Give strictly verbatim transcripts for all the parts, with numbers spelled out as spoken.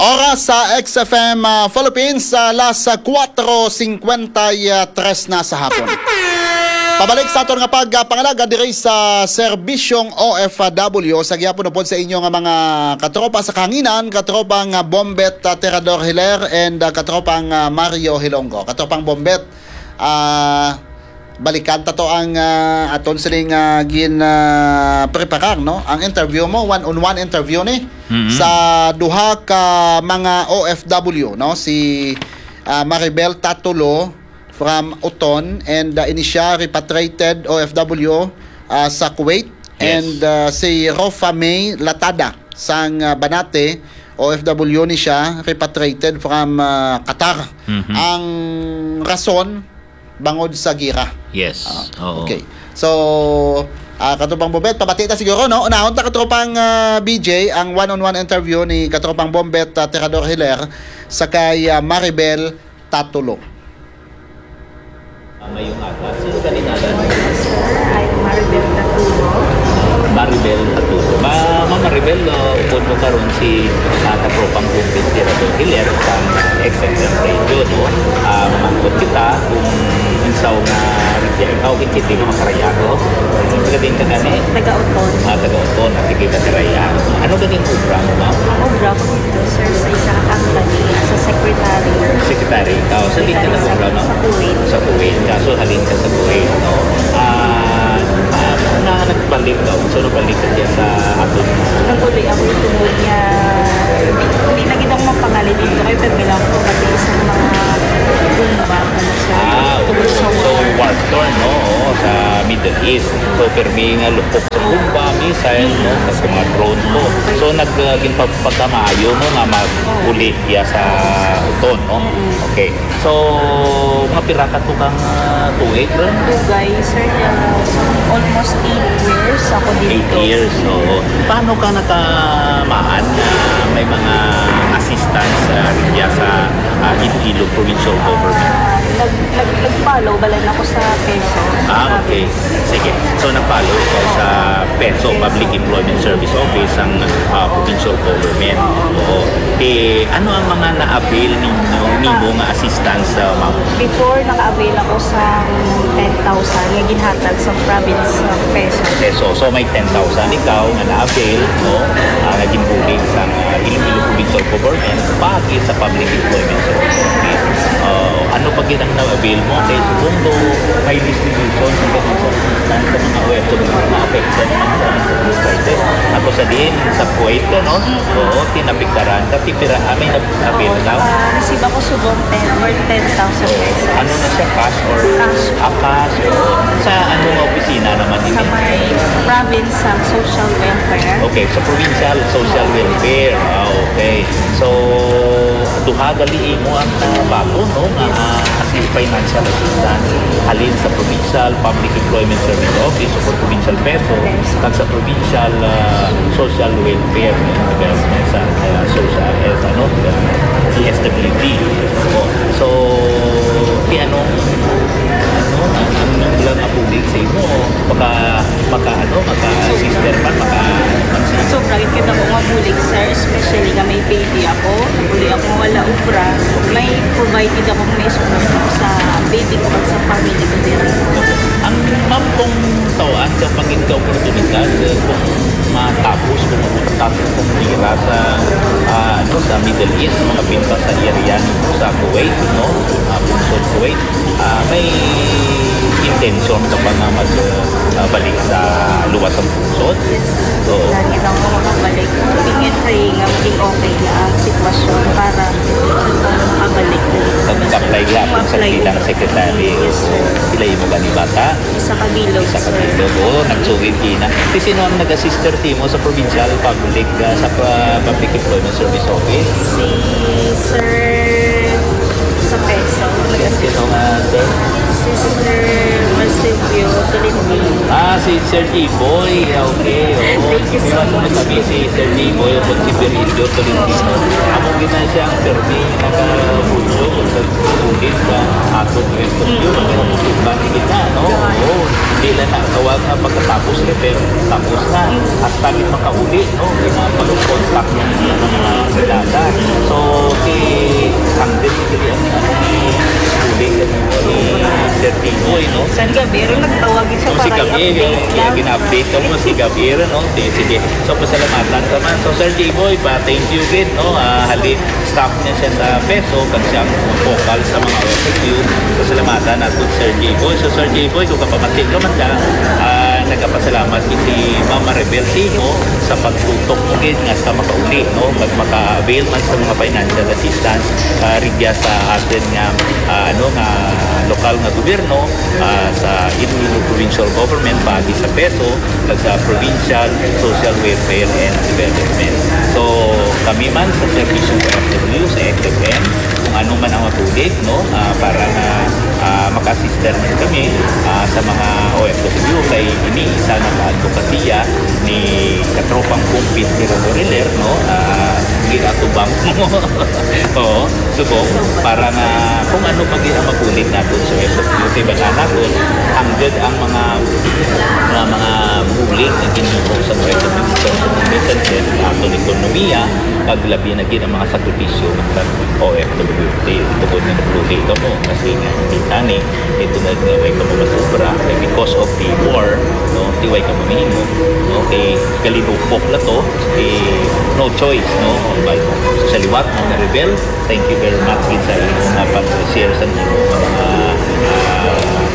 Oras sa X F M, ah, Philippines, alas kuwatro singkwenta y tres na sa hapon. Pabalik sa aton nga pagpangalagad diri sa serbisyong O F W, sa gihapon upod sa inyo nga mga katropa sa kahanginan, katropang, ah, Bombet, ah, Tirador Hiler, and, ah, katropang, ah, Mario Hilonggo. Katropang Bombet, ah, balikan ta to ang, ah, aton sining, ah, gin, ah, preparar, no? Ang interview mo, one-on-one interview ni, Mhm. sa duha ka mga O F W, no? Si, ah, Maribel Tatulo from Oton, and, ah, ini siya repatriated O F W, ah, sa Kuwait, Yes. and, ah, si Rofa May Latada sang, ah, Banate, O F W ni siya, repatriated from, ah, Qatar. Mhm. Ang rason, bangod sa gira. Yes. Ah, Oo. okay. So, ah, Katropang Bombet, pabati ta siguro, no? Unahon ta, Katropang, ah, B J, ang one-on-one interview ni Katropang Bombet, ah, Tirador Hiler, sa kay, ah, Maribel Tatulo. Ah, mayong aga. Sino ka ni, Nana? Sir, I'm Maribel Tatulo. Maribel Tatulo. Ma-, Ma'am Maribel, ah, upod mo karon si, ah, Katropang Bombet Tirador Hiler sa X F M Radio, no? Ah, mangkot kita kung unsaw nga rugya ikaw, kay hindi mo makarayato. Taga din ka gani? Taga Oton. Ah, taga Oton, at hindi ka karaya. Ano ba yung obra mo, ma'am? Ang obra ko dito, sir, sa isa ka company, as a secretary. Secretary ikaw. Sa di ka Secretary sa, nag-obra, ma'am? Sa Kuwait. Sa Kuwait. Kaso halin ka sa Kuwait, no? Ah, ah, na nagbalik ka. So, nabalik ka siya sa aton. Nag-uli ako tungod niya. Hindi, hindi na gid ako mapangalit dito kay pwede lang ako pati isang mga gumba, ano, sir. Ah, Tungod oo. sa So, war. war torn, no? Oo, sa Middle East. So, pirmi nga lupok sa bomba, missile, no? Sa mga drone, no? So, nag, uh, ginpapagkamaayo mo nga mag-uli iya sa Oton, no? Mm. Okay. So, mga pira ka to kang, uh, tuig, bro? Dugay, sir, uh, almost eight years ako Eight dito. years, oo. Paano ka nakamaan na may mga assistance, uh, iya sa, uh, Iloilo Provincial Government? Ah, nag-, nag-, nag-follow, balay na ko sa PESO. Ah, okay. Sige. So, nag-follow ko sa PESO, Public Employment Service Office, ang, ah, provincial government. Oo. Oo. Eh, ano ang mga na-avail ninyo, nimo nga assistance, ah, ma'am? Before, naka-avail ako sa ten thousand nga ginhatag sa province sa PESO. PESO. So, may ten thousand ikaw nga na-avail, no? Ah, nga ginbulig sa, ah, Iloilo Provincial Government, paagi sa Public Employment Service Office. Ah, ano pa gid ang na-avail mo? Kay sundo, may distribution sa ganun sa assistance sa mga O F W na affected naman sa crisis. Ako sa diin, sa Kuwait ka, no? Oo, tinapikaran ka, tipira, ah, may nag-avail ka? Ah, receive ako subong ten, worth ten thousand pesos. Ano na siya, cash or Cash. Ah, cash, oo. Sa ano nga opisina naman Sa ini? may province sa social welfare. Okay, sa provincial social welfare. Ah, okay. So, duha gali imo ang, ah, bago, no, nga, ah, as in financial assistance halin sa Provincial Public Employment Service Office o Provincial PESO, kag sa Provincial, ah, Social Welfare, no, sa, ah, social, eh, ano, P S W D. O, so, ti ano, ano, ang, ang ilang apulig sa imo, maka, maka, ano, maka-assist man, maka, Sobra gid kita ko nga bulig, sir, especially nga may baby ako. Uli ako wala obra. May provide gid ako, may support ako sa baby ko kag sa family ko diri. Ang ma'am, kung tawaan ka pangin ka oportunidad, eh, kung matapos, kung matapos kung tira sa, ah, ano, sa Middle East, mga pinta sa area nito sa Kuwait, no? Ah, Pungsod Kuwait, ah, may intention ka ba nga mag, ah, balik sa luwas sa pungsod? Yes, sir. Oo. Lagi lang ako makabalik. Tingin kay nga maging okay na ang sitwasyon para makabalik. Pag nag-apply gihapon sa Mag-apply. bilang secretary. Yes, sir. Pila imo gani bata? Isa ka bilog, Isa ka sir. bilog. Oo, nagsugid kina. Ti sino ang nag-assist sa imo sa provincial public, ah, sa pa-, Public Employment Service Office? Si Sir sa PESO. Sino nga, sir? Si Sir Marsilio Tolentino. Ah, si Sir Jiboy. Ah, okay, oo. Thank you so Di ba, much. Sabi si Sir Jiboy, kung si Virgilio Tolentino, amo gina siya ang permi, naka-, sa sulit sa ato, eh, Mm. Bakit kita, no? Oo. Hindi lang na, tawag na pagkatapos, eh, pero tapos na. Mm. Hasta gid makauli, no? Yung mga pag-contact ng mga kilala. So, Boy, no? Sa gabi, rin nagtawag siya. Kung si para Gabi, i-update yung lang. Gina-update ko mo, si Gabi, no? Sige, sige. So, pasalamatan ka man. So, Sir J-Boy, pa, thank you, gid, no? Ah, hali, staff niya siya sa PESO, kag siya ang focal sa mga O F W. Pasalamatan nato, Sir J-Boy. So, Sir J-Boy, kung kapamati ka man ka, ah, nagapasalamat si Ma'am Maribel Timo sa pagtutok mo, gid, nga sa makauli, no? Pag maka-avail man sa mga financial assistance, ah, rigya sa atin nga, ah, ano, nga lokal nga gobyerno, ah, sa Iloilo Provincial Government, paagi sa PESO, kag sa Provincial Social Welfare and Development. So, kami man sa Serbisyo O F W, sa X F M, kung ano man ang mabulig, no, ah, para nga, ah, maka-assist man kami, ah, sa mga O F W, kay ini isa na ka advokasya ni katropang Kumpit Tiro Doriler, no, ah, ginatubang mo. Oo. Subong, para nga kung ano pa gid ang mabulig naton sa S O Q, kay bala naton, hangtod ang mga, mga, mga bulig nga ginhimo sa mga ekonomiko sa mga businesses, ang aton ekonomiya, kag labi na gid ang mga sakripisyo nga sa O F W. Di, tungod nga nagluhi kamo, kasi nga, kita ni, ito na nga way kamo masubra. Kay because of the war, no, di way kamo mahimo. No? Kay kalinupok na to, eh, no choice, no? But sa liwat, mga rebel, thank you very much gid sa inyong mga pag-share sa inyong mga, ah,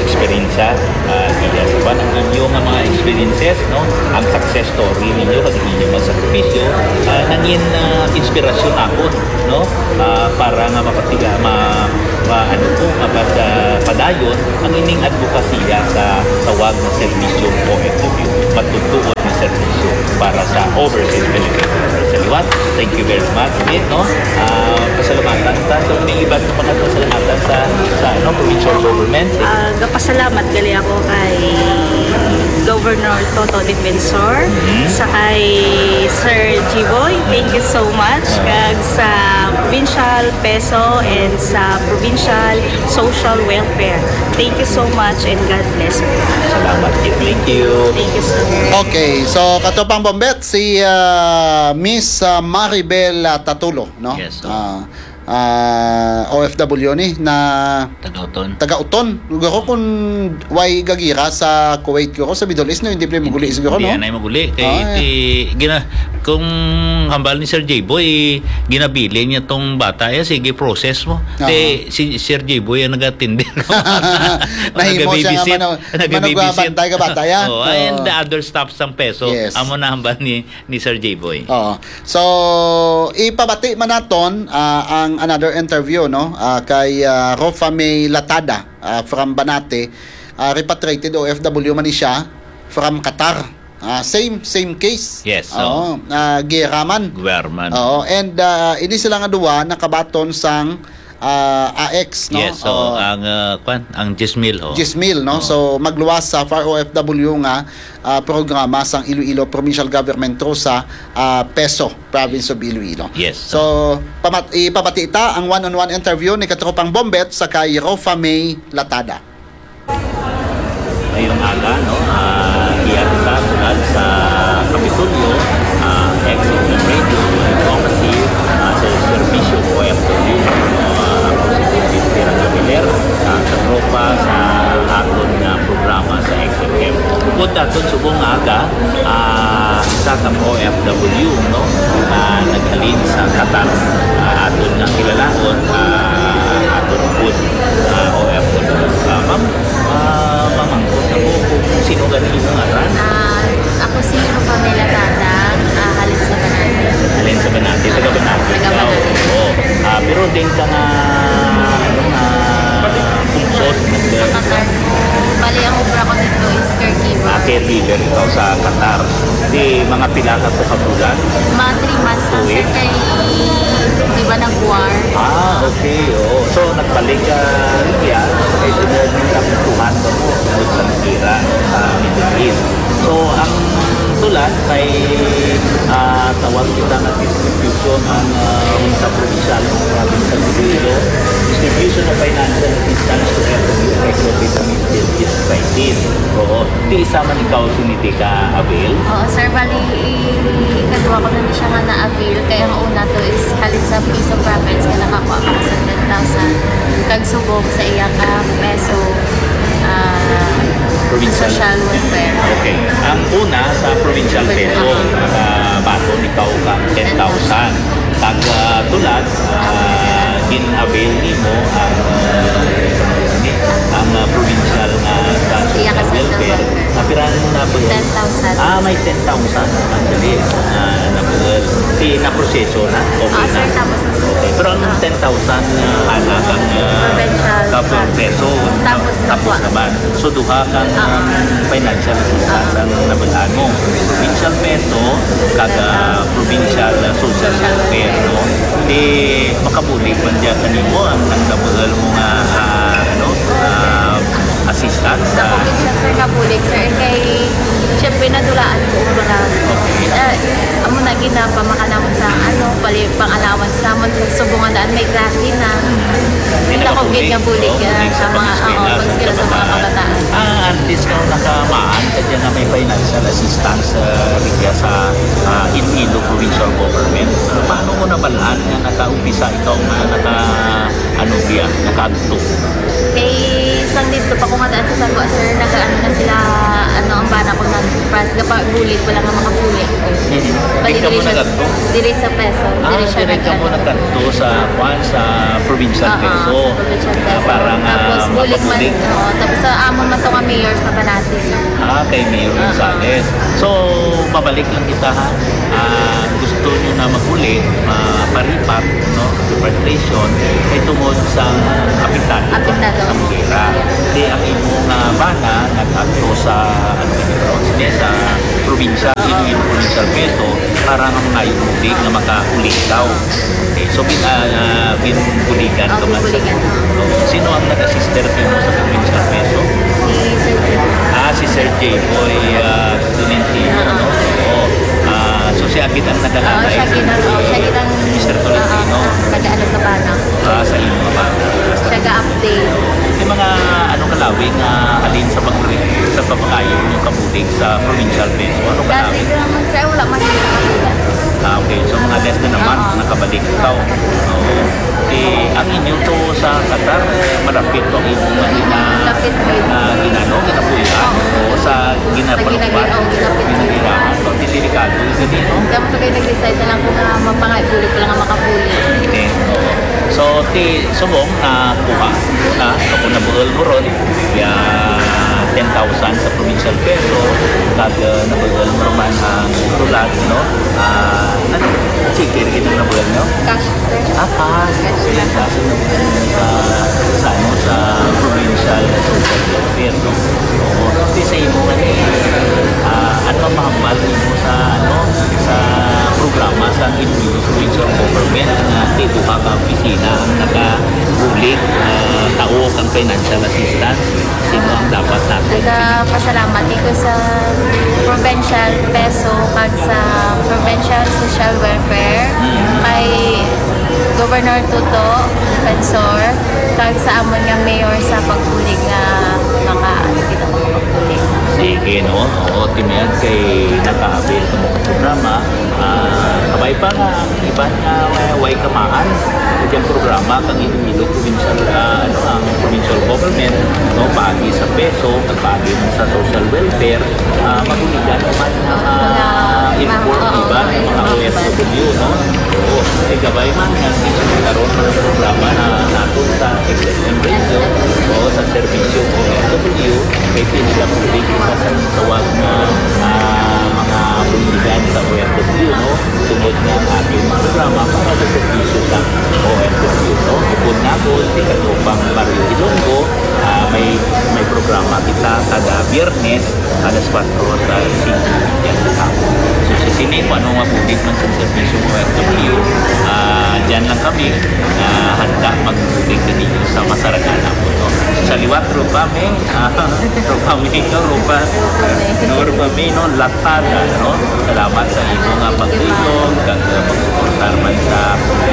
eksperyensya. Ah, iya sa kwan ang inyo nga mga experiences, no? Ang success story ninyo, kag inyo mga sakripisyo, ah, nangin, ah, inspirasyon ako, no? Ah, para nga mapatiga, ma, ma, ano po, mapat-, ah, padayon ang ining advokasya sa tawag nga serbisyo O F W, matugtuon nga serbisyo para sa overseas Filipino. Sa liwat, thank you very much, Min, no? Ah, pasalamatan ta sa may iban nga mga pasalamatan sa, sa, ano, provincial government. Ah, gapasalamat gali ako kay Governor Toto Defensor, Mhm. sa kay Sir Jiboy, thank you so much, Ah. kag sa Provincial PESO and sa Provincial Social Welfare. Thank you so much and God bless po. Salamat. Thank you. Thank you, sir. Okay, so katropang Bombet, si, ah, Miss, ah, Maribel, ah, Tatulo, no? Yes, sir. Ah, ah, O F W ni na Taga-Uton. Taga-Uton. Guro kung way gagira sa Kuwait, guro sa Middle East, no? Hindi pala maguli siguro, Hindi no? Yan ay maguli. Kay Ah, ti, gina, kung hambal ni Sir J-Boy, ginabilin niya tong bata. Eh, sige, process mo. Aha. Te, si Sir J-Boy ang nag-atindi. Nahimo siya nga Nagababysit. mano-, Nagababysit. managbabantay ka bata, ya? Oh, and Oo. the other staff sang PESO, Yes. amo na hambal ni, ni Sir J-Boy. Oo. So, ipabati man naton, ah, ang another interview, no? Ah, kay, ah, Rofa May Latada, ah, from Banate. Ah, repatriated O F W man ni siya from Qatar. Ah, same, same case. Yes, Oo, oo. ah, gera man. Gwer man. Oo, and, ah, ini sila nga duwa nakabaton sang, ah, A X, no? Yes, so Oo. ang, ah, kwan, ang Jismil, ho. Jismil, no? Oo. So, magluwas sa Far O F W nga, ah, programa sang Iloilo Provincial Government through sa, ah, PESO, Province of Iloilo. Yes. So, pamat-, ipabati ta ang one-on-one interview ni Katropang Bombet sa kay Rofa May Latada. Ngayong aga, no, ah, iya kita tulad sa Kapitolyo, ah, X F M Radio, Democracy, ah, sa serbisyo ko, F W, no, ah, ako si David Tirang Javiler, ah, sa tropa sa aton nga programa sa X F M. Bukod naton subong nga aga, ah, isa ka O F W, no, ah, naghalin sa Qatar, ah, aton nga kilalaon, ah, aton pud, ah, O F W. Ah, ma'am, Ah, mamangkot ako kung sino gani imong ngaran. Ah, ako si Pamela Tatang, ah, halin sa Banate. Halin sa Banate, taga Banate Taga ikaw. Banate. Oo. Ah, pero din ka nga, ano nga, pungsod, nag- Sa Qatar po. Bali, ang obra ko dito is caregiver. Ah, caregiver ikaw sa Qatar. Di, mga pila ka to ka bulan? Mga three months lang, Two sir, weeks? kay, di ba, nag-war? Ah, okay. Oo. So, nagbalik ka, yeah, kay tungod ang kuhan ba mo, tungod sa nag-ira sa Middle East. So, ang tulad kay, ah, tawag kita nga distribution ang, ah, sa provincial, province sa Iloilo, distribution of financial assistance to F W affected with the Middle East crisis. Oo. Ti isa man ikaw sini ti ka-avail? Oo, sir. Bali, i-, ikadua ko na ni siya nga na-avail. Kay ang una to is halin sa Iloilo Province nga nakakuha ko sa ten thousand. Kag subong sa iya ka PESO, Provincial. Social welfare. Okay. Ang una sa provincial peso, nakabaton ikaw ka ten thousand. Kag ah, tulad, ah, gin-avail nimo ang ah, ang ah, provincial nga sa Iya, social kasi welfare. welfare. Napirahan mo na ba? Ten thousand. Ah, may ten thousand. Actually, ah, nabuhal. Di na proseso na. Okay Ah, na. Sir, tapos na, sir. Okay. Pero ang ten thousand na anak ang ah, Provincial kapag fund. peso, Tapos na tapos po. Naman. So, duha kang ah, financial assistance ang nabal-an mo. Provincial peso, kag ah, provincial ah, social welfare, no? Di makabulig man diya kanimo ang nang nabuhal mo nga ah, ano, ah, assistance. Sa ah, probinsya, sir, nga bulig, sir, kay siyempre nadulaan ko ang mga Okay. uh, amo na ginapamakanaon sa ano, pali pang allowance namon sa subong nga daan may klase na. Hindi Hindi ko nakabulig. nga bulig Oo, ah, bulig sa sa mga pag-eskwela, oo, sa pag-eskwela sa mga kabataan. Ah, artist ka nakamaan ka dyan nga may financial assistance uh, sa ah, Iloilo Provincial Government. Ah, paano mo nabalaan nga nakaumpisa ikaw nga naka ano biya, nakaagto? Kay sang dito pa ko nga daan sa Sagwa, sir, nagaano na sila, ano, ang bana ko nag-pass, gapa bulig wala nga makabulig. Bali, Di ka mo diri siya, nag-agto? Diri sa peso. Ah, Diri siya direct ka mo nag-ano. Nagkadto sa kwan sa provincial Oo, peso. sa provincial peso. Para nga Tapos bulig man, makabulig. Oo, tapos sa amo man to nga mayor sa Banati, sir. Ah, kay Mayor Gonzales. So, babalik lang kita ha. Ah, gusto nyo na maguli, maparipat, no? Repatriation, kay tungod sa apektado Apektado. Sa gera. Di ang imo nga bana nag-agto sa ano, sa probinsya, Iloilo Provincial Peso, para nga may tubig nga makauli daw. Okay, so bin, ah, ah, binbuligan Oh, ka man sa binbuligan. So, sino ang nag-assist dito mo sa provincial peso? Si Sir Jim. Ah, si Sir J. Boy ah, Tolentino, no? Oo. Ah, so siya gid ang Oo, nag-alala. siya gid ang, oo, siya gid ang, Mister Tolentino. Oo, nag-ano sa bana. Ah, sa imo nga bana. Siya ga-update. May mga ano kalawi nga halin sa pag sa pagpakayo ng kabulig sa provincial peso. Ano Kasi kalawi? naman sir, wala man siya nakakita. Ah, okay. So, mga less na naman, Oo. Nakabalik ikaw. Oo. Eh, ang inyo to sa Qatar, eh, malapit to ang imo nga gina, Lapit po yun. ah, ginano, ginapulian o sa Sa ginapalupan. ginagin-, oh, ginapit. Ginagirahan. So, di delikado yung ganito. Kaya mo kaya nag-decide na lang kung nga mapangay, bulig ko lang nga makabulig. Okay. Oo. So, ti subong na kuha na ako nabuhol mo ron ya ten thousand sa provincial peso, kag uh, nabuhol mo man ang tulad, no? Ah, ano? Sige, rin ang nabuhol, no? Cash, sir. Ah, cash. Kasi yung cash ang nabuhol sa, sa, ano, sa provincial na social welfare, no? Oo. Kasi sa imo nga ni, ah, ano ang mahambal nimo sa, ano, sa programa sa Iloilo Provincial Government nga dito ka ka opisina ang nakabulig, ah, tao kang financial assistance? Sino ang dapat natin? Nagapasalamat ko sa provincial peso kag sa provincial social welfare, kay Governor Toto Defensor, kag sa amon nga mayor sa pagbulig nga maka ano kita ko pagbulig. Sige, no? Oo, timiyan kay naka-avail ka mo sa programa. Ah, kabay pa nga ang iban nga uh, way kamaan. Yung programa kang Iloilo Provincial, ah, ano, ang provincial government, no, paagi sa peso, at paagi man sa social welfare, ah, maguligan naman ang mga inform, iba, ang mga O F W, no? Oo. Kay gabay man nga karon man ang programa na nato sa X F M Radio o sa serbisyo O F W, kay pili lang po kita sa tawag nga ah, mga buligan sa O F W, no? Tungod nga ang ating programa para sa serbisyo sa O F W, no? Bukod na po, si Katropang Mario Ilonggo, ah, may, may programa kita kada Biyernes alas kwatro sa singko yan sa hapon. So, sa sini, kung ano nga bulig man sa serbisyo ng O F W, ah, dyan lang kami, ah, handa magbulig kanino sa masaragana po, no? Sa liwat, Tropa May, ah, Tropa May, no? Tropa, no, Tropa May, no? Latada, no? Salamat sa imo nga pagtulong, kag uh, pagsuportar man sa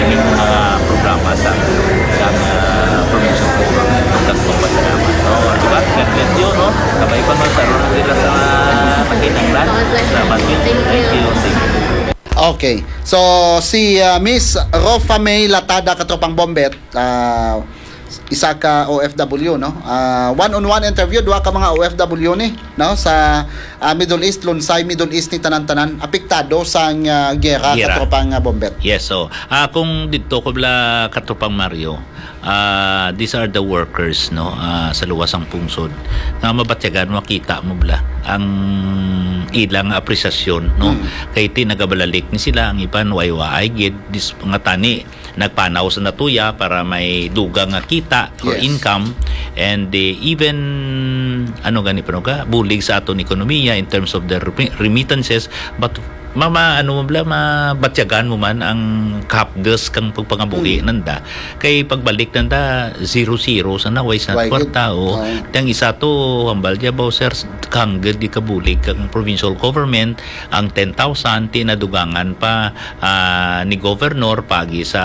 ining mga programa sa sa uh, provincial government. Kag magpasalamat, no? Diba? God bless you, no? Kabay pa, no? Sa ron nila sa makinanglan. Salamat. Thank you. Thank you. Okay. So, si uh, Miss Rofa May Latada, Katropang Bombet, uh, isa ka O F W, no? Ah, one-on-one interview, duha ka mga O F W ni, no? Sa, ah, Middle East, lunsay Middle East ni tanan-tanan, apektado sang, ah, giyera, Giyera. Katropang, ah, Bombet. Yes, so, ah, kung didto ko bala, Katropang Mario, ah, these are the workers, no, ah, sa luwas sang pungsod nga mabatyagan, makita mo bala ang ilang apresasyon, no? Mm. Kay ti nagabalalik ni sila, ang iban way waay gid, dis-, nga tani nagpanaw sa natuya para may dugang nga kita or Yes. income, and, eh, even, ano gani pa, no, ka bulig sa aton ekonomiya in terms of the remi-, remittances, but mama, ano mo bala, mabatyagan mo man ang kahapdos kang pagpangabuhi Mm. nanda. Kay pagbalik nanda, zero-zero sa naway sa Why kwarta, gid? O. Oo. Tang isa to, hambal niya ba, sir, kangged di kabulig kang provincial government, ang ten thousand, tinadugangan pa, ah, ni governor pagi sa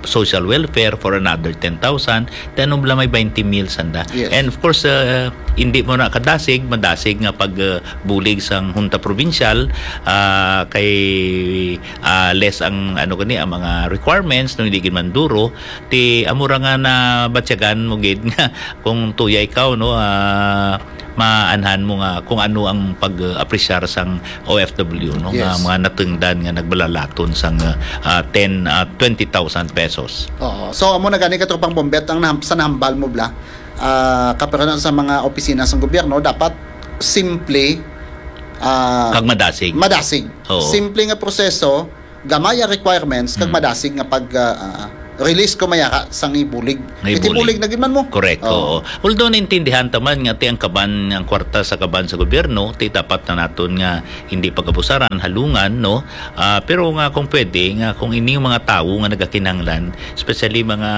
social welfare for another ten thousand, then bala may twenty mil sanda. Yes. And of course, uh, hindi mo na kadasig, madasig nga pag, uh, bulig sang Hunta Provincial, ah, kay, ah, less ang, ano gani, ang mga requirements, no, hindi gid man duro, ti amo ra nga nabatyagan mo gid nga kung tuya ikaw, no, ah, maanhan mo nga kung ano ang pag-apresyar sang O F W, no, nga Yes. mga natungdan nga nagbalalaton sang, ah, ten, ah, twenty thousand pesos. Oo. So, amo na gani, Katropang Bombet, ang naham-, sa nahambal mo bala, ah, kapira na sa mga opisina sang gobyerno, dapat simple, ah, Kag madasig. madasig. Oo. Simple nga proseso, gamay ang requirements, kag Mm. madasig nga pag, ah, ah, release ko mayara sang ibulig. Nga Iti ibulig. bulig na gid man mo. Correct, Oo. oo. Although naintindihan ta man nga ti ang kaban, ang kwarta sa kaban sa gobyerno, ti dapat na naton nga hindi pag-abusaran, halungan, no? Ah, pero nga kung pwede, nga kung ini yung mga tawo nga nagakinahanglan, especially mga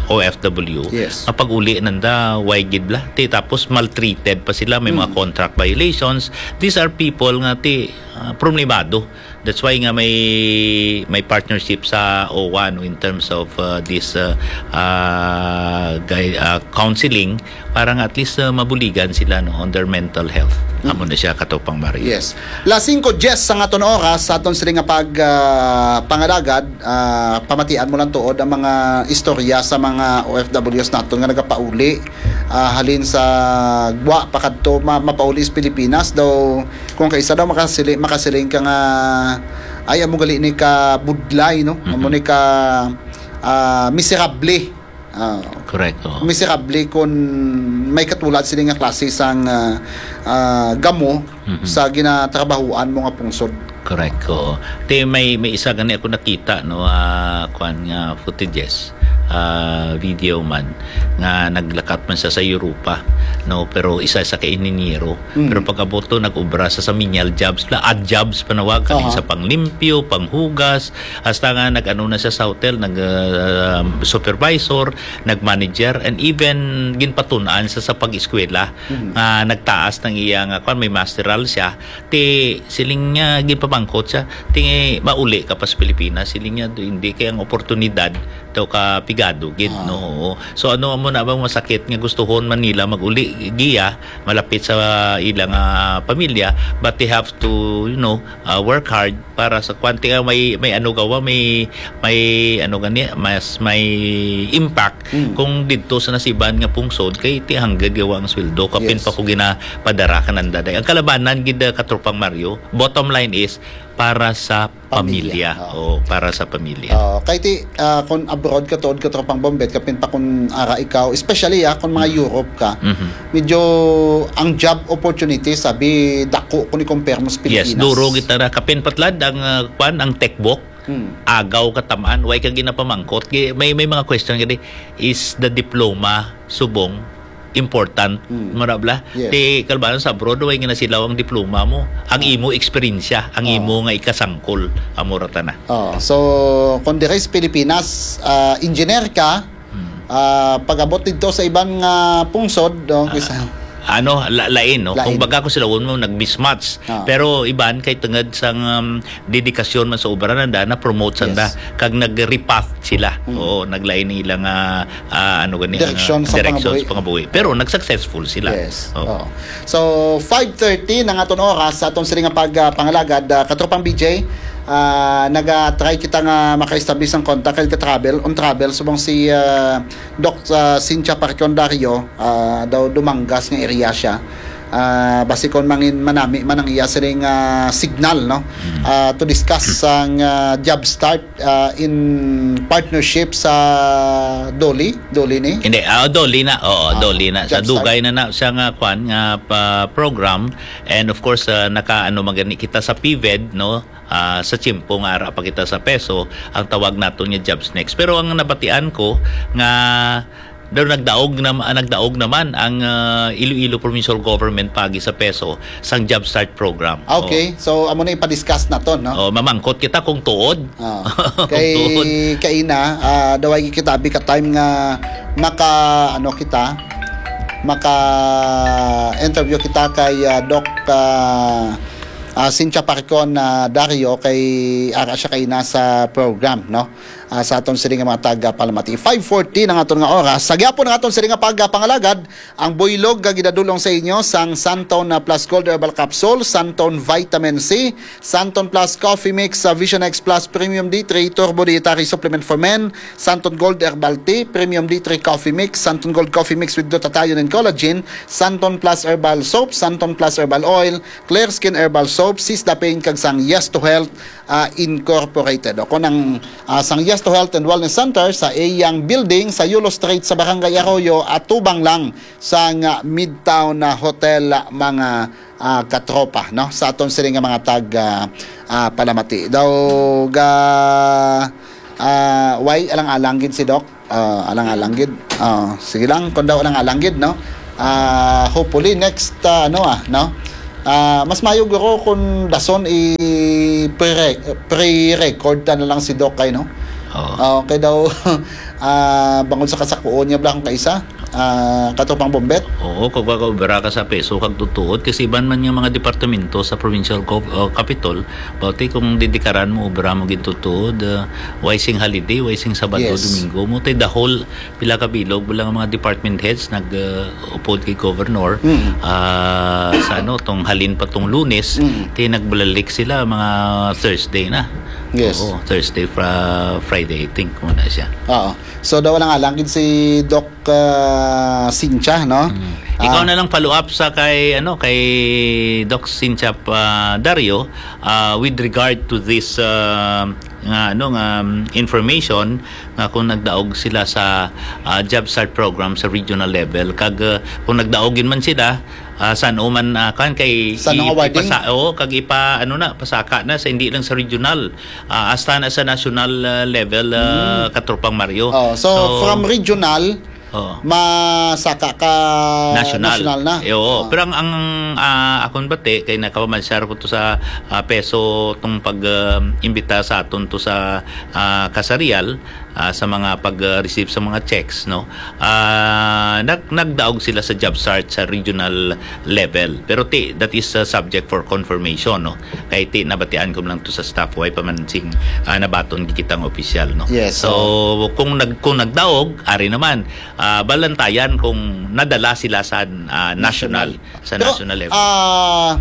O F W, Yes. nga pag-uli nanda, way gid bala. Ti tapos maltreated pa sila, may mga Mm. contract violations. These are people nga ti, ah, problemado. That's why nga may, may partnership sa O W A, no, in terms of, uh, this, uh, uh, gui-, uh, counseling, para nga at least, uh, mabuligan sila, no, on their mental health. Mm. Amo na siya, Katropang Mario. Yes. Las singko diyes sang aton oras, sa aton sini nga pag, uh, pangalagad, uh, pamatian mo lang tuod ang mga istorya sa mga O F Ws naton nga nagapauli, uh, halin sa gwa pa kadto ma-, mapauli sa Pilipinas daw. Kung kaisa daw makasili-, makasiling ka nga, "Ay, amo gali ni ka budlay, no? Amo Mhm. ni ka, ah, miserable." Ah, Correct, oo. miserable kung may katulad sila nga klase sang, ah, ah, gamo Mhm. sa ginatrabahuan mo nga pungsod. Correct, oo. Te, may, may isa gani ako nakita, no, ah, kwan nga footages, ah, video man, nga naglakat man siya sa Europa, no, pero isa sa ka inhinyero. Mm. Pero pagkabot to, nag-obra sa, sa menial jobs, la, odd jobs panawag, kaning Aha. sa panglimpyo, panghugas, hasta nga nag-ano na siya sa hotel, nag, ah, supervisor, nag-manager, and even ginpatun-an sa, sa pag-eskwela, Mhm. nga nagtaas ng iya nga, kwan, may masteral siya, ti siling niya, ginpamangkot siya, ti mauli ka pa sa Pilipinas, siling niya, hindi kay ang oportunidad daw ka pigado gid, Ah. no? Oo. So, ano mo na bang masakit nga gustuhon man nila mag-uli giya, malapit sa ilang, ah, pamilya, but they have to, you know, ah, work hard para sa kwan, ti may, may ano gawa, may, may ano gani, mas may impact Mm. kung didto sa nasiban nga pungsod kay ti hanggang gawa ang sweldo, kapin Yes. pa ko ginapadara ka nanda day. Ang kalabanan gid, ah, Katropang Mario, bottom line is para sa Pamilya. pamilya. Oo. Oo, para sa pamilya. Oo, kay ti, ah, kung abroad ka tuod, Katropang Bombet, kapin pa kung ara ikaw, especially, ah, kung mga Mm. Europe ka, Mhm. medyo ang job opportunity, sabi, dako kung i-compare mo sa Yes, Pilipinas. duro kita ra. Kapin patlad ang, ah, kwan, ang tech book, Hmm. agaw katamaan, way ka ginapamangkot. Gi-, may, may mga question gani, is the diploma subong important, Hmm. marabla? Yes. Ti, kalbanan sa abroad, way nga nasilaw ang diploma mo. Ang Ah. imo eksperyensya, ang Oo. imo nga ikasangkol, amo ra tana. Oh, so, kung dire sa Pilipinas, ah, engineer ka, Hmm. ah, pag-abot didto sa iban nga pungsod, no, Ah, kisa ano, la-, lain, no? Lain. Kung baga ko sila, mo, nag-mismatch. Ah. Pero iban, kay tungod sang, um, dedikasyon man sa obra nanda, na-promote sanda, Yes. kag nag-repath sila. Mm. Oo, naglain nila nga, ah, ano gani, ang, Direksyon ah, sa direksyon pangabuhi. sa pangabuhi. Pero nag-successful sila. Yes. Oo. Oo. So, five thirty na nga aton oras sa aton sini nga pag, ah, pangalagad, ah, Katropang B J, Ah, naga-try kita nga maka-establish ang contact kay ka-travel, on travel, subong si, ah, Doc, ah, Cynthia Parcon Dario, ah, daw Dumangas nga area siya. Ah, basi kon mangin manami man ang iya siring, ah, signal, no? Mm. Ah, to discuss ang, ah, job start, ah, in partnership sa Doli, Doli ni? Hindi, ah, Doli na. Oo, Ah, Doli na. Sa job start. Dugay na na siya nga kwan, nga pa program. And of course, ah, naka-ano man gani kita sa PVED, no? Ah, sa tiyempo nga ara pa kita sa PESO, ang tawag naton nga jobs next. Pero ang nabatian ko nga daw nagdaog na, ah, nagdaog naman ang, ah, Iloilo Provincial Government paagi sa PESO sang Job Start Program. Ah, okay. Oh. So, amo na ipa-discuss naton, no? Oh, mamangkot kita kung tuod. Ah. Kung Kay tuod. Kaina, ah, daw ay kita abi ka time nga maka, ano kita, maka interview kita kay, ah, Doc, ah, ah, Cynthia Parcon, ah, Dario, kay ara siya kaina sa program, no? Ah, sa aton sini nga mga taga Palamati. Five forty na nga aton nga oras. Sa gyapon nga aton sini nga pagpangalagad, ang buylog nga gidadulong sa inyo sang Santon na Plus Gold Herbal Capsule, Santon Vitamin C, Santon Plus Coffee Mix, sa Vision X Plus Premium D three Turbo Dietary Supplement for Men, Santon Gold Herbal Tea, Premium D three Coffee Mix, Santon Gold Coffee Mix with Glutathione and Collagen, Santon Plus Herbal Soap, Santon Plus Herbal Oil, Clear Skin Herbal Soap, Sisda Pain, kag sang Yes to Health, ah, Incorporated. O kung ang, ah, sang Yes to Health and Wellness Center sa iyang building sa Yulo Street sa Barangay Arroyo, atubang lang sang, ah, Midtown, ah, Hotel, ah, mga, ah, katropa, no? Sa aton sini nga mga tag, ah, ah, Palamati. Daw ga, ah, way alang-alang gid si Doc. Ah, alang-alang gid. Ah, sige lang, kung daw alang-alang gid, no? Ah, hopefully next, ah, ano, ah, no? Ah, mas mayo guro kung dason i pre-, pre-record ta na lang si Doc kay, no? Oo. Ah, kay daw, ah, bangod sa kasakuon niya bala kung kaisa, ah, katropang Bombet. Oo, kung kakaubra ka sa PESO kag tutuod, kasi iban man nga mga departamento sa provincial gov-, uh, capitol, bawti kung didikaran mo, ubra mo gid tutuod, uh, way sing holiday, way sing Sabado, Yes. Domingo mo, tay the whole, pila ka bilog, wala nga mga department heads nag, uh, upod kay governor, Mm. ah, sa ano, tong halin pa tong Lunes, Mm. ti nagbalik sila mga Thursday na. Yes. Oo, Thursday, fra-, Friday, I think, muna siya. Oo. So, daw lang alang gid si Doc, ah, Cynthia, no? Mm. Ikaw Ah. na lang follow up sa kay, ano, kay Doc Cynthia, ah, Dario, ah, with regard to this, ah, nga, ano, nga, um, information nga kung nagdaog sila sa, ah, Job Start program sa regional level, kag, ah, kung nagdaog yun man sila, ah, san-o man, ah, kan kay San-o nga wording? ipasa-, oo, kag ipa-, ano na, pasaka na sa, hindi lang sa regional, ah, hasta na sa national, ah, level, ah, Hmm. Katropang Mario. Oh, so, So, from regional, oh. masaka ka National. national na. Eh, oo. Ah. Pero ang, ang, ah, akon bati, kay nakapamansar ko to sa, ah, PESO tong pag, ah, imbita sa aton to sa, ah, kasarial, ah, sa mga pag, ah, receive sa mga checks, no? Ah, nag-, nagdaog sila sa job start sa regional level. Pero ti, that is, ah, subject for confirmation, no? Kay ti, nabatian ko lang to sa staff, way pa man sing, ah, nabaton kita nga opisyal, no? Yes, So, oo. kung nag-, kung nagdaog, ari naman, ah, balantayan kung nadala sila sa, ah, national, National. sa Pero, national level. ah,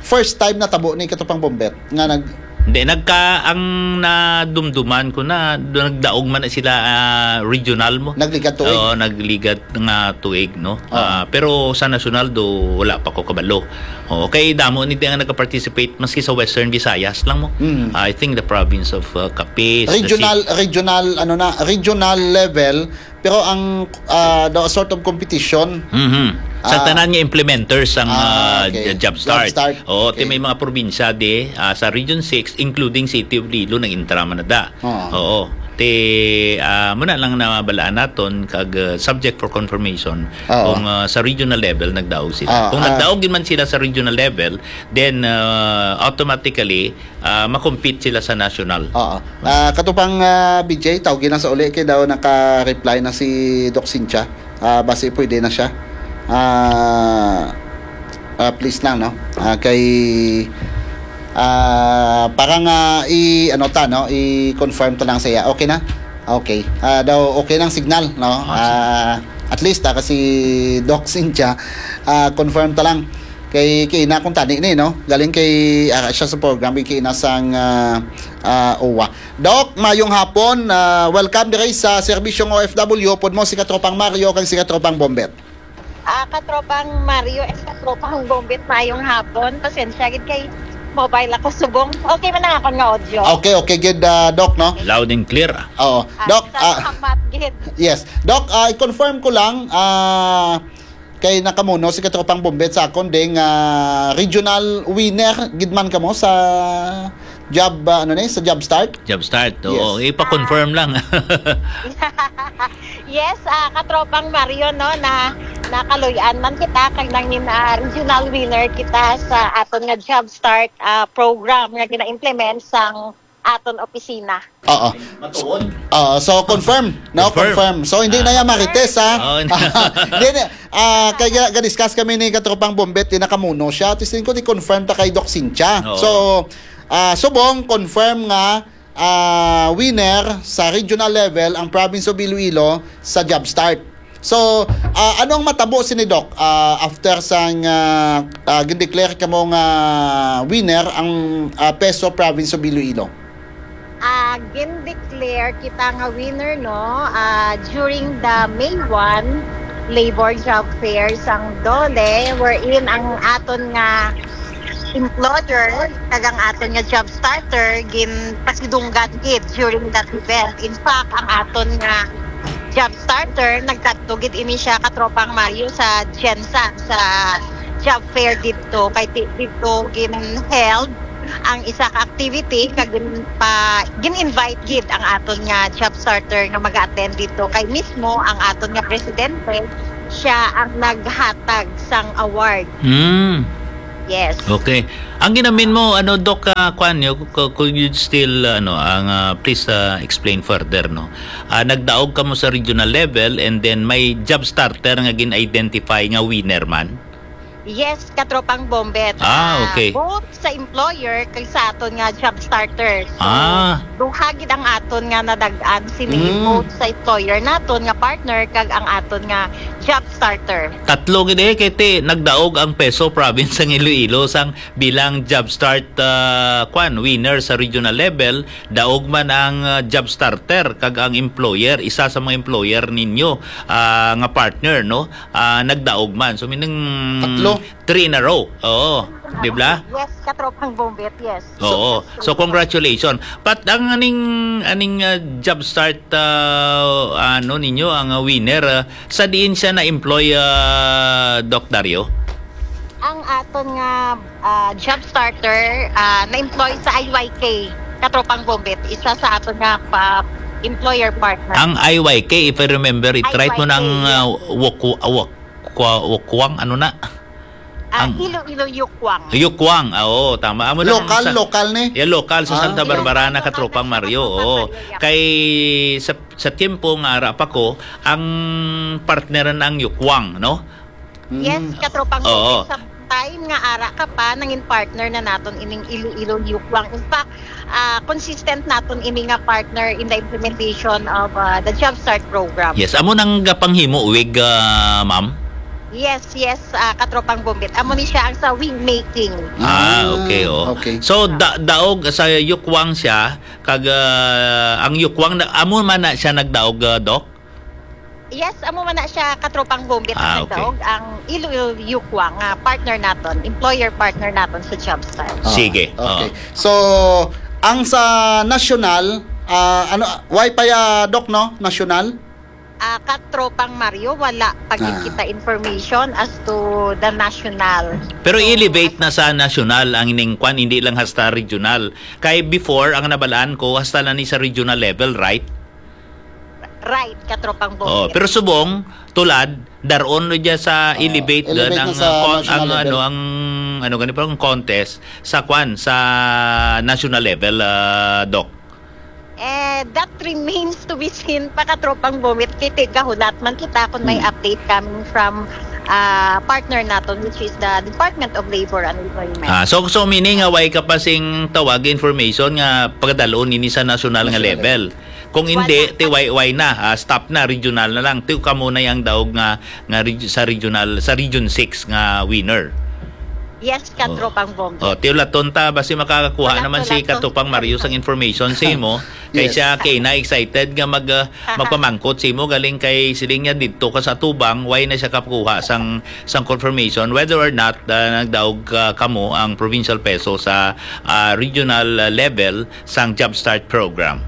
first time natabo ni Katropang Bombet nga nag- Hindi, nagka-, ang nadumduman ko na, nagdaog man na sila, ah, regional mo. Nagligat tuig. Oo, nagligat nga tuig, no? Oo. Ah, pero sa national do, wala pa ko kabalo. Oo, kay damo ni nga nagka-participate, maski sa Western Visayas lang mo. Mm. I think the province of, uh, Capiz, the Regional, ci- regional, ano na, regional level, pero ang, ah, daw sort of competition. Mhm. Sa Ah. tanan nga implementers ang, Ah, ah, okay. j-, job Job start. start. Oo, ti Okay. may mga probinsya di, ah, sa Region six, including City of Iloilo, nang intra man na da. Oo. Oo. Ti, ah, muna lang na balaan naton kag, ah, subject for confirmation Oo. kung, ah, sa regional level nagdaog sila. Oo, Kung ah. nagdaog yun man sila sa regional level, then, ah, automatically, ah, makompete sila sa national. Oo. Ah, Katropang, ah, B J, tawgi na sa uli kay daw naka-reply na si Doc Cynthia. Ah, basi pwede na siya. Ah, ah, please lang, no? Ah, kay, ah, para nga i-, ano ta, no? I-confirm ta lang sa iya. Okay na? Okay. Ah, daw okay nang signal, no? Ah, sige. Ah, at least, ah, kasi Doc Cynthia, ah, confirm ta lang. Kay, kay ina kung tani ni, no? Galing kay, ah, siya sa program, kay ina sang, ah, ah, uwa. Doc, mayong hapon. Ah, welcome diri sa Serbisyong O F W. Pod mo si Katropang Mario kag si Katropang Bombet. Ah, Katropang Mario and Katropang Bombet, mayong hapon. Pasensya gid kay mobile ako subong. Okay man ang akon nga audio. Okay, okay gid, ah, Doc, no? Loud and clear, ah. Oo. Ah, Doc, sa ah, salamat gid. Yes. Doc, ah, i-confirm ko lang, ah, kay nakamuno si Katropang Bombet sa akon, ding, ah, regional winner gid man kamo sa job, ah, ano ni, sa job start? Job start, oo. Yes. Ipa-confirm lang. Yes, ah, Katropang Mario, no, na nakaluy-an man kita kag nangin, ah, regional winner kita sa aton nga job start, ah, program nga gina-implement sang aton opisina. Oo. Matuod. Oo, so confirm, no? Confirm. Confirm. So hindi na Ah. yan marites, ha? Oo. Hindi na. Ah, kaya ga-discuss kami ni Katropang Bombet, di nakamuno siya. At least ko di confirm ta kay Doc Cynthia. Oo. So, ah, subong confirm nga, ah, winner sa regional level ang Province of Iloilo sa job start. So, ah, ano ang matabo sini, Doc, ah, after sang, ah, ah, gindeclare kamo nga winner ang, ah, PESO Province of Iloilo? Ah, gindeclare kita nga winner, no, ah, during the May one Labor Job Fair sang DOLE, wherein ang aton nga employer kag ang aton nga job starter ginpasidunggan gid during that event. In fact, ang aton nga job starter, nagkadto gid ini siya, Katropang Mario, sa GenSan, sa job fair didto. Kay di-, didto gin-held ang isa ka activity, kag gin-, pa, gin-invite gid ang aton nga job starter nga mag-attend didto. Kay mismo ang aton nga presidente, siya ang naghatag sang award. Mm. Yes. Okay. Ang ginamin mo, ano, Doc, ah, kwan, you, co-, could you still, ano, ang, ah, please, ah, explain further, no? Ah, nagdaog kamo sa regional level and then may job starter nga gin-identify nga winner man? Yes, Katropang Bombet. Ah, Ah, okay. Both sa employer kag sa aton nga job starter. So, Ah. duha gid ang aton nga nadag-an sini, Mm. both sa employer naton nga partner kag ang aton nga job starter. Tatlo gid eh, kay ti nagdaog ang PESO Province sang Iloilo sang bilang job start, ah, kwan, winner sa regional level, daog man ang, ah, job starter kag ang employer, isa sa mga employer ninyo, ah, nga partner, no? Ah, nagdaog man. So, meaning, Tatlo. three in a row. Oo. Di ba? Yes, Katropang Bombet, yes. Oo. So, So, congratulations. Pat ang aning, aning, ah, job start, ah, ano ninyo, ang, ah, winner, ah, sa diin siya na-employ, ah, Doc Dario? Ang aton nga, ah, job starter, ah, na-employ sa I Y K, Katropang Bombet, isa sa aton nga pa employer partner. Ang I Y K, if I remember it right, mo I Y K, nang, yes. ah, Wokwa-, Wokwa-, Wokwang, ano na? Ah, Ang Iloilo Yukwang. Yukwang, ah, oo, tama. Amo na Lokal, ang sa lokal ni? Yeah, lokal sa Ah. Santa Barbara na, Katropang Mario, oo. Katropang Mario, yeah. Kay sa, sa tiempo nga ara pa ko, ang partner na ang Yukwang, no? Yes, Mm. Katropang Oo. Bombet, sa time nga ara ka pa, nangin partner na naton ining Iloilo Yukwang. In fact, ah, consistent naton ini nga partner in the implementation of, ah, the Job Start program. Yes, amo nang gapanghimo wig, ah, ma'am? Yes, yes, ah, Katropang Bombet. Amo ni siya ang sa wig making. Ah, Ah, okay, oh. okay. So, Ah. da-, daog sa Yukwang siya, kag, ah, ang Yukwang, na, amo man na siya nagdaog, ah, Doc? Yes, amo man na siya, Katropang Bombet, Ah, ang okay. nagdaog, ang Iloilo Yukwang, ah, partner naton, employer partner naton sa Job Start. Ah, Sige, okay. oo. So, ang sa national, ah, ano, why pa ya, Doc, no? National? Ah, Katropang Mario, wala pa gid Ah. kita information as to the national. Pero So, i-elevate as na sa national ang ining kwan, hindi lang hasta regional. Kay before, ang nabalaan ko, hasta lang ni sa regional level, right? Right, Katropang Bombet. Oh, pero subong, tulad, daron no dyan sa Ah, elevate elevate doon na ang, sa uh, con-, national ang, level. ano, ang, ano, gani pa, ang contest sa kwan, sa national level, ah, Doc? Eh, that remains to be seen pa, Katropang Bombet. Kay ti-, gahulat man kita kung may Hmm. update coming from, ah, partner naton, which is the Department of Labor and Employment. Ah, so, so meaning nga, way ka pa sing tawag information nga pagadalon ini sa national nga National level. level. Kung hindi, Wala. ti way, way na, ah, stop na, regional na lang. Ti kamo na yang daog nga, nga reg-, sa regional, sa Region six nga winner. Yes, Katropang Bong. Oh, tiulaton ta, basi makakuha Wala naman si tulaton. Katropang Mario sang information sa imo. Kay Yes. siya, kay na excited nga mag, ah, magpamangkot sa imo, galing kay siling niya didto ka sa atubang, why na siya kakuha sang, sang confirmation, whether or not, ah, nagdaog, ah, kamo ang provincial peso sa, ah, regional, ah, level sang JobStart program.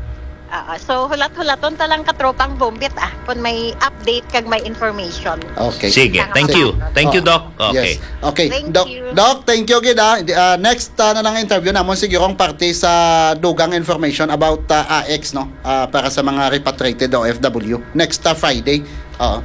Ah, so, hulat-hulaton ta lang, Katropang Bombit, ah, kung may update kag may information. Okay. Sige, Sa thank you. Thank you, Oh, Doc. Okay. Yes. Okay. Thank Doc, you. Doc, thank you gid, ah. Di- ah, next, ah, na lang interview namon siguro ang parte sa dugang information about, ah, A X, no? Ah, para sa mga repatriated O F W. Next, ah, Friday. Oo.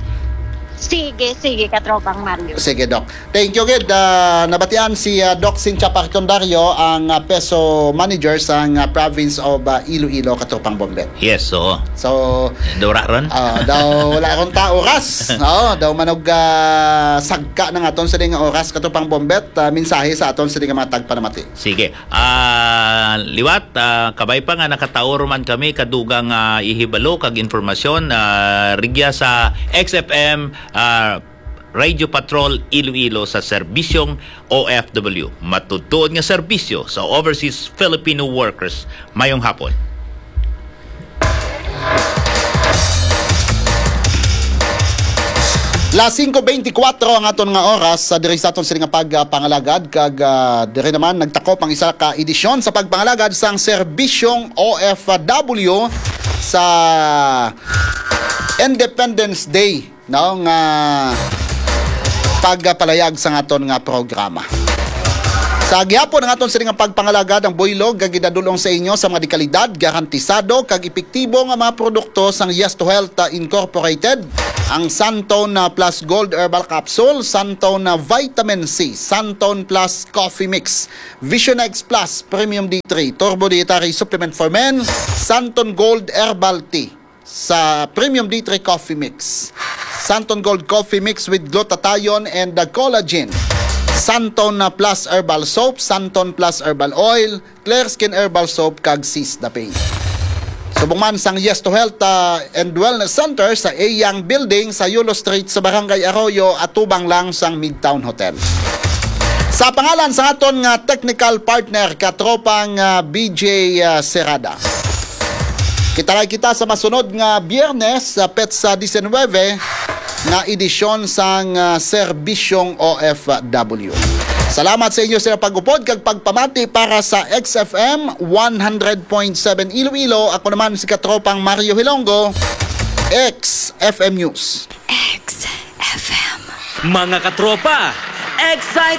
Sige, sige, Katropang Mario. Sige, Doc. Thank you gid. Ah, nabatian si, ah, Doc Cynthia Parcondario, ang, ah, peso manager sang, ah, province of, ah, Iloilo, Katropang Bombet. Yes, oo. So, Dura ron? Ah, daw wala ron ta oras. Oo, daw manog, ah, sagka na nga ton sila nga oras, Katropang Bombet. Ah, mensahe sa aton sila nga mga tagpanamati. Sige. Ah, liwat, ah, kabay pa nga nakataor man kami kadugang, ah, ihibalo kag impormasyon, ah, rigya sa X F M, ah, Radio Patrol Iloilo sa serbisyong O F W. Matutuod nga serbisyo sa overseas Filipino workers. Mayong hapon. Las singko beintikwatro ang aton nga oras sa diri sa aton sini nga pagpangalagad, kag, ah, diri naman nagtakop ang isa ka edisyon sa pagpangalagad sang serbisyong O F W sa Independence Day, no, nga pagpalayag sa aton nga programa. Sa gihapon ang aton sini nga pagpangalagad, ang buylog nga ginadul-ong sa inyo sa mga dekalidad, garantisado kag epektibo nga mga produkto sang Yes to Health, ah, Incorporated, ang Santon, ah, Plus Gold Herbal Capsule, Santon, ah, Vitamin C, Santon Plus Coffee Mix, Vision X Plus Premium D three, Turbo Dietary Supplement for Men, Santon Gold Herbal Tea sa Premium D three Coffee Mix, Santon Gold Coffee Mix with glutathione and the collagen, Santon, ah, Plus Herbal Soap, Santon Plus Herbal Oil, Clear Skin Herbal Soap, kag Seize the Pain. Subong man sang Yes to Health, ah, and Wellness Center sa A Young Building sa Yulo Street sa Barangay Arroyo, atubang lang sang Midtown Hotel. Sa pangalan sa aton nga technical partner, Katropang, ah, B J, ah, Serrada. Kita-kit kita sa masunod nga Biyernes, sa petsa diecinuebe, nga edisyon sang, ah, Serbisyong O F W. Salamat sa inyo sa pag-upod kag pagpamati para sa X F M one hundred point seven Iloilo. Ako naman si Katropang Mario Hilongo, X F M News. X F M. Mga katropa, excite